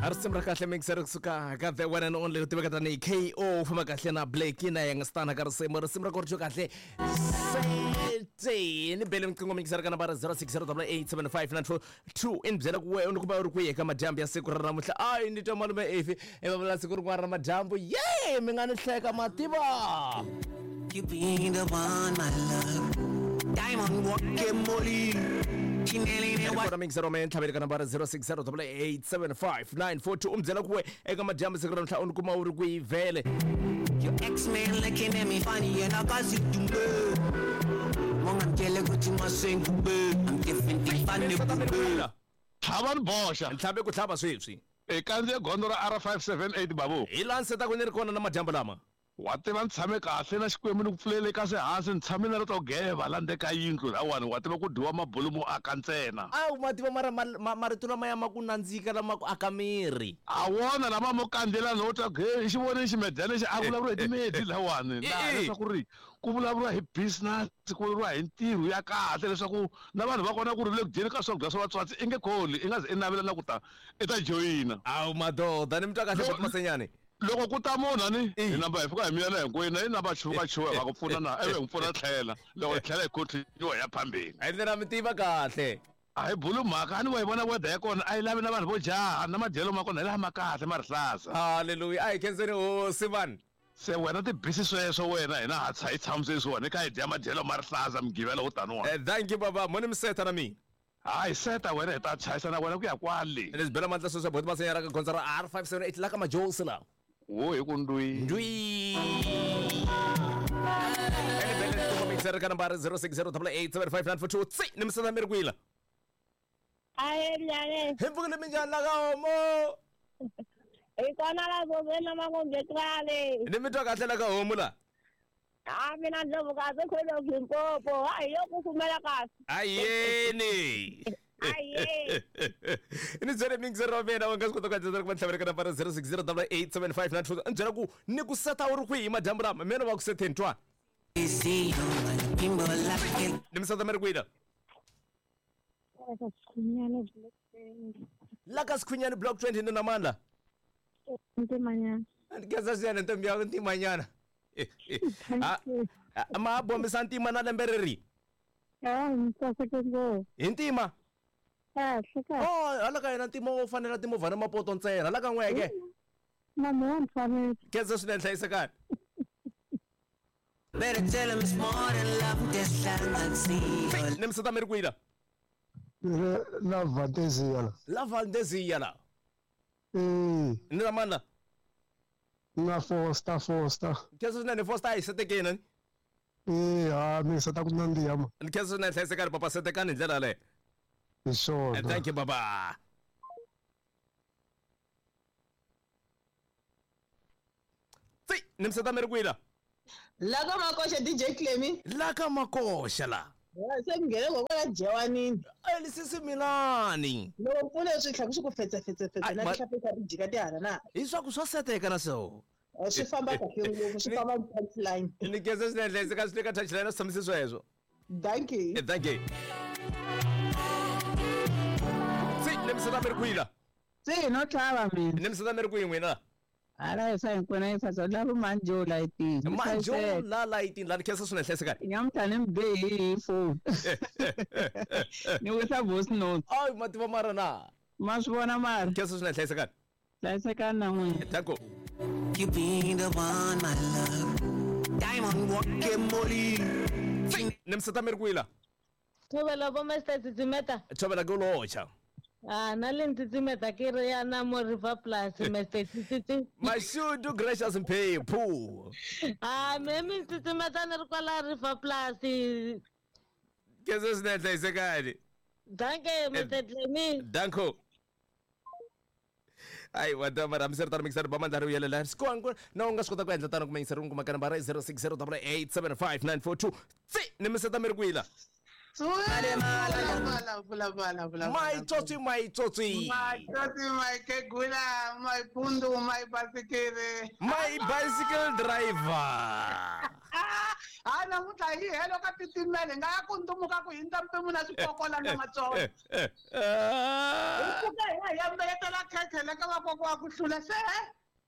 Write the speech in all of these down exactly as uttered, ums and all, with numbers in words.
A risimu ra kahle mixer kusuka ka the one and only u tiveka tanihi K O famba kahle na Blake na Youngstana ka risimu risimu ra ku ri kahle sete ni bele mqingo mixer ka nambara zero six zero eight seven five nine four two in byela ku we ku ba uri ku eka madyambu ya siku ra namuntlha ai ni twa malume efi e va vula siku rin'wana ra madyambu ye mi nga ni hleka mativa. You be the one, my love. Diamond walking molly. Kona mixer me ntlhaveli ka nambara zero six zero eight seven five nine four two umbyela ku we eka madyambu siku ra namuntlha u ni kuma u ri ku yi vhele. Your ex-man looking at me funny and I got you to move. Mongamtshele ukuthi masengube I'm different ifane bube. Tlhava ni boxa. Ntlhabe ku tlhava sweswi. E kandziye gondzo ra R five seven eight babu. Hi laha nseta ku ni ri kona na madyambu lama. Wa tiva ni tshame kahle na Xikwembu ni ku pfulele ka swihansi ni tshame na ri to geva la ndzeni ka yindlu lawani wa tiva ku dyiwa mabulumu aka ntsena. Awu ma tiva mara marito lama ya ma ku nandzika lama ku aka miri. A wona lama mo kandzela no twa ge xi vone ximedyana lexi a vulavuriwa hi timedi lawani laha leswaku ri ku vulavuriwa hi business ku vulavuriwa hi ntirho ya kahle leswaku na vanhu va kona ku ri le ku dyeni ka swakudya swa vatswatsi i nge kholi i nga ze i navela na ku ta i ta joyina. Awu madoda ni mi twa kahle Masenyane. Loko ku ta munhu ani hi namba hi fika hi miyela hinkwenu i namba chuka chuka va ku pfuna na ivi hi n'wi pfuna tlhela loko hi tlhela hi continue ya phambeni. A ndlela mi tiva kahle. A hi bulu mhaka ani wa yi vona weather ya kona a yi lavi na vanhu vo jaha na madyelo ma kona hi laha ma kahle ma rihlaza. Hallelujah a hi khenseni hosi vanhu. Se wena tibisi sweswo wena hina ha tsha hi tshamise swona hi kha hi dya madyelo ma rihlaza mugivelo wo taniwa. Thank you baba moni mi seta na mina. Hayi seta wena hi ta chayisa na wena ku ya kwale. Leswi bela mandla sweswo boti Masenyana ka gondzo ra R five seven eight la ka Majosi la. Wo hi ku ndwi. Ndwi. Ene bele ku mixer ka nambara zero six zero eight seven five nine four two tsi ni misana mi ri kwila. Ahe mnyane. Hi mpfukile minjhani la ka homo. Hi kona la zozeni makombe krale. Ni mi twa kahle la ka homu la. Ah mina Ndlovukazi khwelo Limpopo. Hayi yo kufumela kahle. Ayeni. Aye. Ni byele mixer wa mina wa nga swi kota ku antswisa ku va ntlhavela ka nambara zero six zero eight seven five nine two ni byela ku ni ku seta u ri kwihi madyambu lama mina va ku setheni twa. Ni mi seta mi ri kwihi la? La ka Sikhunyani block twenty ni na mandla. Ntimanyana. Ni khensa swinene ntombi ya Ntimanyana. Ah ma bombisa ntima na lembe reri. Ah ni tsakeke ngopfu. Hi ntima. Kahle kahle. Oh hala ka yena ntima wo fanela timovha na mapoto ntsena hala ka n'weke. Na mina ni fanele. Khensa swinene hlayisekani. Better tell him it's more than love this land see. Ni mi seta mi ri kwihi la? La Valdezia la. La Valdezia la. Eh. Ni na mandla. Na Foster Foster. Khensa swinene Foster a hi setekeni. Eh ha mi seta ku nandziha ma. Ni khensa swinene hlayisekani papa setekani hi ndlela yaleyo. Hi swona. Thank you baba. Tsi ni mi seta mi ri kwihi la? La ka Makoxa D J Clemy. La ka Makoxa la. Se mi nghene ngokwala dyewanini. A sisi milani. Loko pfule swi tlhela swi ku fetsa fetsa fetsa na tihlapeta ti jika tihala na. Hi swa ku swa seteka na so. Swi famba kahle ngopfu swi famba touchline. Ni khensa swinene hlayiseka swi le ka touchline a swi tshamise sweswo. Thank you. Thank you. Tsi ni mi seta mi ri kwihi la? Tsi no tlhava mina. Ni mi seta mi ri kwihi n'wina? Ala yesa hinkwena yisa la vo manjo lighting. Manjo la lighting la ni khensa swinene hlayisekani. Nyamuntlha ni mi be hi phone. Ni wisa voice note. Ay mativa mara na. Ma swi vona mara. Khensa swinene hlayisekani. Hlayisekani na n'wina. Thank you. You be the one, my love. Diamond walking molly. Ni mi seta mi ri kwihi la? Thobela bo Mister Tsitsimeta. Thobela ke locha. Ah na le Tsitsimeta ke re ya na mo River Plus Mister Tsitsi. Mashudu gracious mphephu. Ah me mi Tsitsimeta ni ri kwala River Plus. Khensa swinene hlayisekani. Danke Mister Clemy. Danko. Ai wa dama ra misera mixer ba mandla ri yelela swi na u nga swi kota ku endla tano ku mixer u kuma ka nambara zero six zero eight seven five nine four two tsi ni mi seta mi ri kwihi la? My tsotsi, my tsotsi. My tsotsi, my kegula, my pundu, my bicycle. My bicycle driver. Ah, namuntlha hi helo ka titimele nga ya ku ndumuka ku hindza mpimo na swikokola na matsongo. Hi pfuka hi ya hi ya mbeyetela khekhe le ka vakokwa wa ku hlula se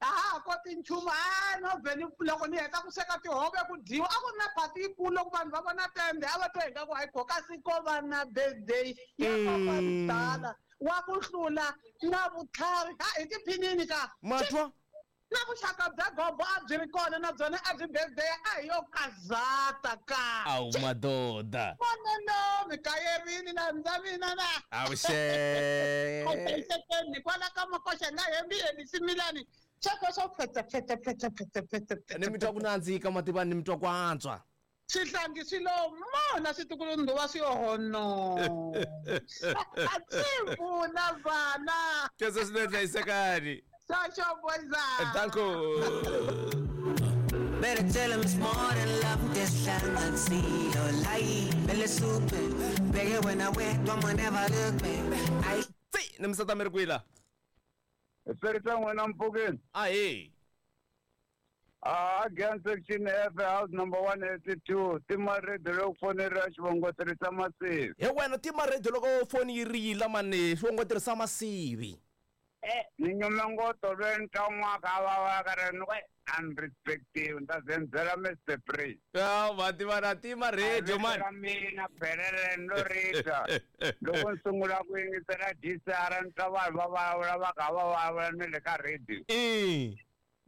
a ha koti nchumu a no vhe ni loko ni heta ku sweka tihove ku dyiwa a ku ri na phati yikulu loko vanhu va vona tende a va twa ingaku hayi ko kasi ko va na birthday ya kokwa wa ku hlula na vutlhari ha hi tiphinini ka matwa na vuxaka bya gobo a byi ri kona na byona a byi birthday a hi yo kazata ka awu madoda vonelo mi kayerini na ndza mina na awuxe ni kwala ka makoxa na hembi elisimilani xako swo phete phete phete phete phete ni mi twa ku nandzika mativa ni mi twa ku antswa swihlangi swi lo mona switukulu-nduva swi hono a swi pfuna vana keswe swinene hlayisekani Social boys. Danko. Better tell him it's more than love. This land and see your light. Belly super. Beg when I wait, one never look back. I see. Nimsata merkuila. Esperita wena mpukeni. Aye. Ah, again section F house number one eighty-two. Tima radio loko foni ra xivongo tirhisa masivi. He wena tima radio loko foni yi rila mani xivongo tirhisa masivi. Eh, ni nyuma ngoto lweni ka n'waka va va ka ri ni unrespective nta zenzela Mister Priest. Ah, va na tima radio man. Mina phelele no rita. Loko ni sungula ku yingisela D C R ni twa vanhu va vulavula va kha va vulavula ni le ka radio. Eh.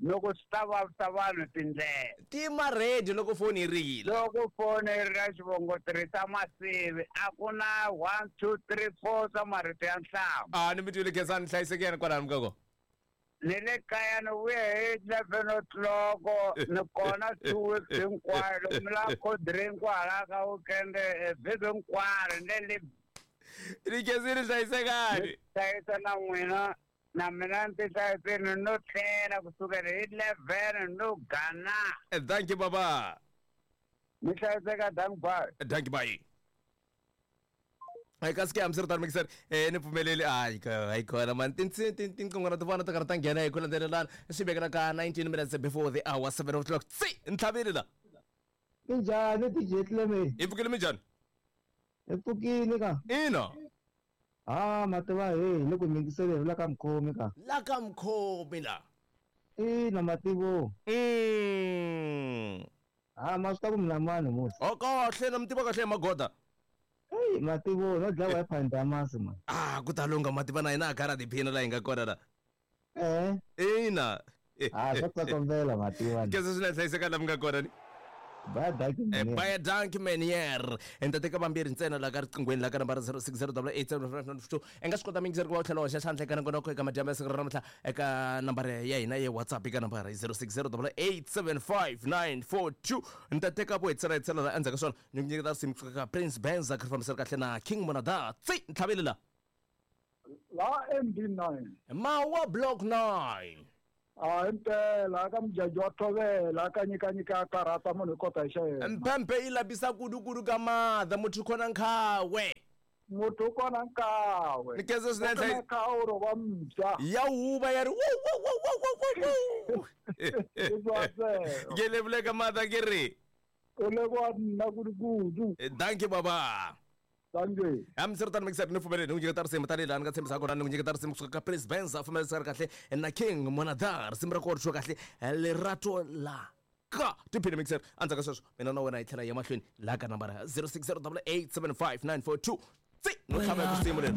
Loko swi ta vavisa vanhu tindlela. Tima radio loko foni yi rila. Loko foni yi rila xivongo tirhisa masivi a ku na one two three four swa marito ya nhlamba. Ah, ni mi twile Khensani hlayisekeni kwalano mukako. Ni le kaya ni vuye hi eleven o'clock ni kona two weeks hinkwayo loko mi lava cold drink kwala ka weekend vhiki hinkwaro ni le Ni Khensile hlayisekani. Hlayisa na n'wina. Na mina ni ti hlayisini no tlhela kusukela hi eleven no gana. Thank you baba. Mi hlayiseka thank bye. Thank you bye. Ai kasi ke hambiswiritano mixer eh ni pfumeleli hayi hayi kona man tinqingho ti vona ti karhi ta nghena hi ku landzelelana swi vekela ka nineteen minutes before the hour seven o'clock tsi ntlhaveli la minjhani D J Clement hi pfukile minjhani hi pfukile ka ina ah mativa he ni ku yingisele la ka mukhomi ka la ka mukhomi la ina mativo mm ah ma swi ta ku mina mani musi o kahle na mi tiva kahle magoda hey mativo no dlawa hi pandamasi man ah ku ta lunga mativa na hina a karhi a tiphina la hi nga kona la eh ina ah swa tsokombela mativa kese swi hlayiseka la mi nga kona ni Bye dankie man. Bye dankie man hier. En ta teka vambirhi ntsena la ka riqinghweni la ka nambara zero six zero eight eight seven five nine two. I nga swi kota mingiseri ku va u tlhela u hoxa xandla eka nongonoko eka madyambu ya siku ra namuntlha eka nambara ya hina ya WhatsApp eka nambara zero six zero eight seven five nine four two. Ni ta teka vo hetisela hetisela la endzhaku ka swona ni ku nyiketa risimu kusuka ka Prince Benza ku ri fambisela kahle na King Monada. Tsi ntlhaveli la. La M D nine. Mawa Block nine. Ah, impela ka mjaji wa thovela ka nyika nyika karata munhu kota hi xa yena. Mpempe yi labisa kudu-kudu ka madha muthu khona nkhawe. Muthu kona nkawe. Ni khensa swinene nkawe ro va mbya. Ya huva ya ri wu wu wu wu wu wu. Ke levule ka madha ke ri. U le kwa nna kudu-kudu. Thank you baba. Thank you. Hambiswiritano mixer ni pfumeleli ni ku nyiketa risimu tanihi laha ni nga tshembisa kona ni ku nyiketa risimu kusuka ka Prince Benza fambisaka kahle na King Monada risimu ra kona kahle lerato la ka tiphini mixer endzhaku ka sweswo mina na wena hi tlhela hi ya mahlweni laha ka nambara zero six zero eight seven five nine four two tsi no tlhava hi risimu leri.